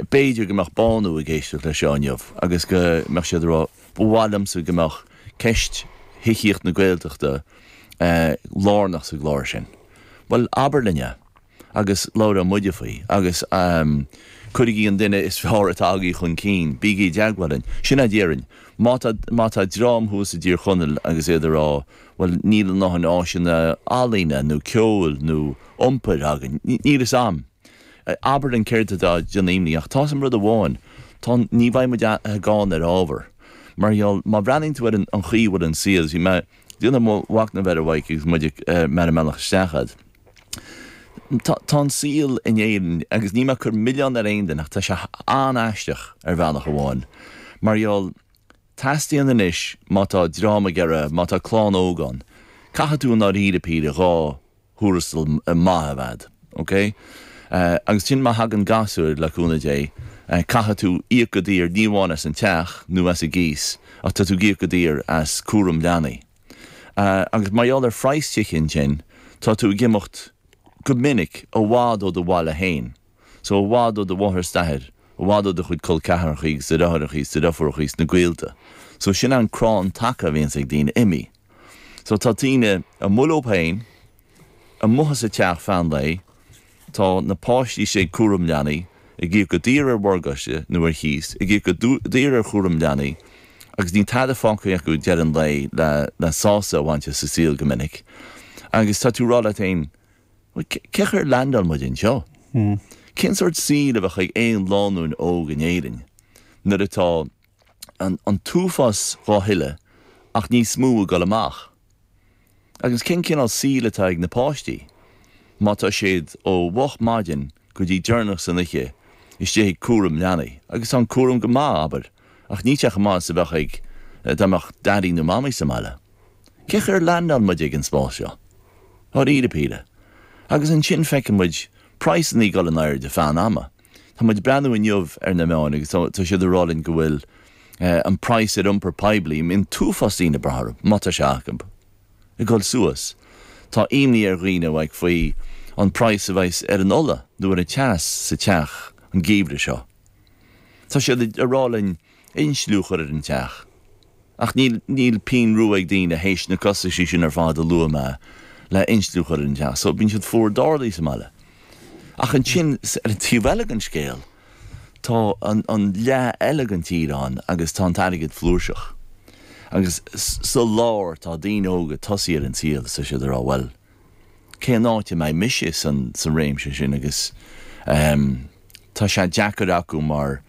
B'fhéidir go mbeadh Bánú ag éisteacht leis seo inniu agus go mbeadh siad ag rá, ba mhaith liomsa go mbeadh ceist thithíocht na Gaeltachta lárnach sa gclár sin. Bhuel, abair linn é agus labhróidh muide faoi agus cuirigí an duine is fearr atá agaibh chun cinn, bígí i dteagmháil linn. Sin é a déarfainn. Má tá, má tá dream thuas i dTír Chonaill agus iad ag rá, bhuel, níl a ndóthain áiseanna ealaíne nó ceoil nó iompair againn, níl fhios a'm. Abair linn céard atá ag déanamh imní ach tá 'fhios a'm rud amháin, tá, ní bheidh muid gann ar ábhar. Mar gheall, má bhreathnaíonn tú ar an chaoi a bhfuil an saol, bhí mé ag déanamh mo mhachnamh air a Mhaidhc agus muid ag, mé ar an mbealach isteach a'd. Tá, tá an saol in Éirinn, agus níl mé ag cur milleán ar aon duine ach tá sé an-aisteach ar bhealach amháin. Mar gheall, teastaíonn anois má tá dream ag iarraidh, má tá clann óg ann, caithfidh tú i ndáiríre píre 2 thuarastal maith a bheith a'd, ok? Agus ansin má thagann gasúir, le cúnamh Dé, caithfidh tú íoc go daor ní amháin as an teach nó as an gcíos ach tá tú ag íoc go daor as cúram leanaí. Agus mar gheall ar phraghas tithe ansin, tá tú ag imeacht go minic i bhfad ó do bhaile féin. So i bhfad ó do mháthair is d'athair, i bhfad ó do chuid col ceathrachaí agus do dheartháireachaí is do dheirfiúrachaí is na gaolta. So sin an crann taca a bhíonns ag daoine, imithe. So tá daoine amuigh leo féin, amuigh as an teach feadh an lae, tá na páistí istigh ag cúram leanaí, ag íoc go daor ar mhorgáiste nó ar chíos, ag íoc go daor ar chúram leanaí agus níl tada fágtha acu ag deireadh an lae le le sásamh a bhaint as an saol go minic. Agus tá tú ag rá leat féin, bhuel cén chaoi ar leaindeáil muid anseo? Cén sórt saoil a bheadh ag aon lánúin óg in Éirinn nuair atá an t-uafás dhá thuilleamh ach níos mó ag dul amach. Agus cén cineál saoil atá ag na páistí má tá siad ó mhoch maidin go dtí deireanach san oíche istigh ag cúram leanaí? Agus tá an cúram go maith, abair, ach níl sé chomh maith is a bheadh ag dá mbeadh daidí nó mamaí sa mbaile. Cén chaoi ar leaindeáil muid ag an spás seo? Dáiríre píre. Agus ansin feiceann muid praghsanna ag dul in airde feadh an ama. Tá muid ag breathnú inniu ar na meáin agus tá siad ag rá linn go bhfuil an praghas ar iompar poiblí, an t-uafás daoine ag brath orthu, má tá sé acu, ag dul suas. Tá imní ar dhaoine like faoi an praghas a bheas ar an ola nó ar an teas sa teach an geimhreadh seo. Tá siad ag rá linn insliú a chur ar an teach. Ach níl, níl pingin rua ag daoine théis na costaisí sin ar fad a luaigh mé le insliú a chur ar an teach. So bíonn siad fuar dorlaí sa mbaile. Ach ansin, ar an taobh eile den scéal, tá an, an leath eile den tír ann agus tá an t-airgead flúirseach. Agus sa lár tá daoine óga ag tosaí ar an saol is tá siad ag rá, bhuel, cén áit a mbeidh mise san, san réimse sin agus ehm, tá sé deacair acu mar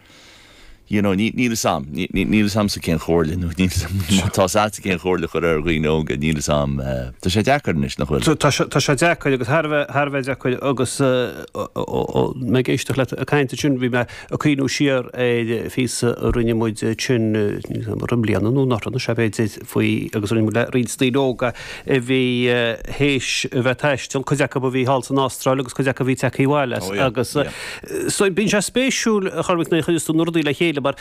you know ní, níl 'fhios a'm, ní, ní, níl 'fhios a'msa cén chomhairle nó níl 'fhios a'm má tá 'fhios a'dsa cén chomhairle a chur ar dhaoine óga, níl 'fhios a'm eh, tá sé deacair anois, nach bhfuil? Tá sé, tá sé deacair agus thar a bheith, thar a bheith deacair agus eh, ó, mé ag éisteacht leat ag caint ansin bhí mé ag cuimhniú siar ar phíosa a rinne muid ansin roimh mbliana nó anuraidh anois b'fhéidir faoi agus rinne muid le roinnt daoine óga a bhí théis a bheith ag taisteal, cuid acu a bhí thall san Astráil agus cuid acu a bhí tagtha abhaile as agus so bíonn sé spéisiúil a Chormaic nuair a chuireas tú na rudaí le chéile mar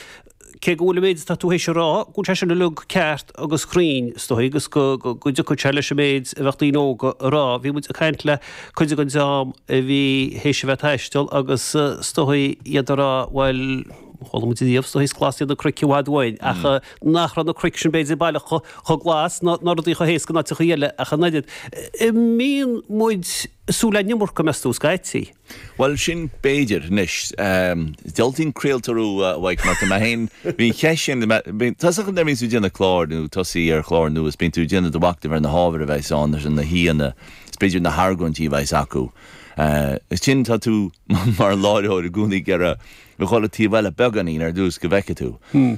cé go bhfuil an méid atá tú théis a rá, go bhfuil sé sin uilig ceart agus cruinn is dóigh agus go dtiocfadh sé leis an méid a bheadh daoine óga a rá. Bhí muid ag caint le cuid den dream a bhí théis a bheith ag taisteal agus is dóigh iad a rá bhuel, chuala muid riamh is dóigh is glas iad na cnoic i bhfad uainn ach nach raibh na cnoic sin b'fhéidir baileach chomh glas ná ná rudaí chomh héasca in áiteachaí eile ach an oiread. An mbíonn muid ag súil le an iomarca meas tú scaití? Bhuel, sin b'fhéidir. Anois, diúltaím craoltóir a Mhaidhc mar tá mé féin, bhí an cheist sin, tá 'fhios agat nuair a bhíonn tú ag déanamh cláir nó tosaí ar chlár nua is bíonn tú ag déanamh do mhachnaimh ar na hábhair a bheas ann, ar na haíonna, is b'fhéidir na hargóintí a bheas acu. Is ansin tá tú mar láithreoir i gcónaí ag iarraidh a dhul an taobh eile beagáinín ar dtús go bhfeicfidh tú.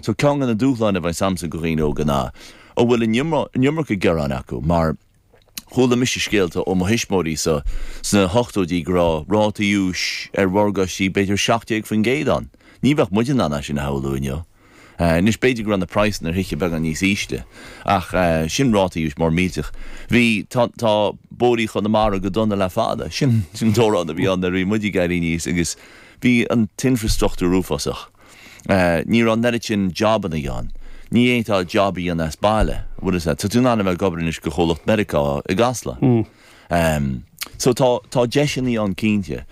So ceann de na dúshláin a bheas a'msa go dhaoine óga ná an bhfuil an iomarca gearáin acu mar Chuala mise scéalta ó mo thuismitheoirí sa sna hochtóidí go raibh rátaí úis ar mhorgáistí b'fhéidir 17% ann. Ní bheadh muid in ann é sin a shamhlú inniu. Anois b'fhéidir go raibh na praghsanna ar thithe beagán níos ísle ach sin rátaí úis mór millteach. Bhí, tá, tá bóithrí Chonamara go dona le fada. Sin, sin an t-amhrán a bhí ann nuair a bhí muid ag éirí aníos agus bhí an t-infreastruchtúr uafásach. Ní raibh an oiread sin jabanna ann. Ní fhéadfá jab a dhéanamh as baile, bhfuil fhios agat. Tá tú in ann a bheith ag obair anois go chomhlacht Meiriceá i gCasla. So tá, tá deiseanna ann cinnte.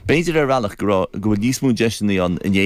B'fhéidir ar bhealach go raibh, go bhfuil níos mó deiseanna ann in Éirinn.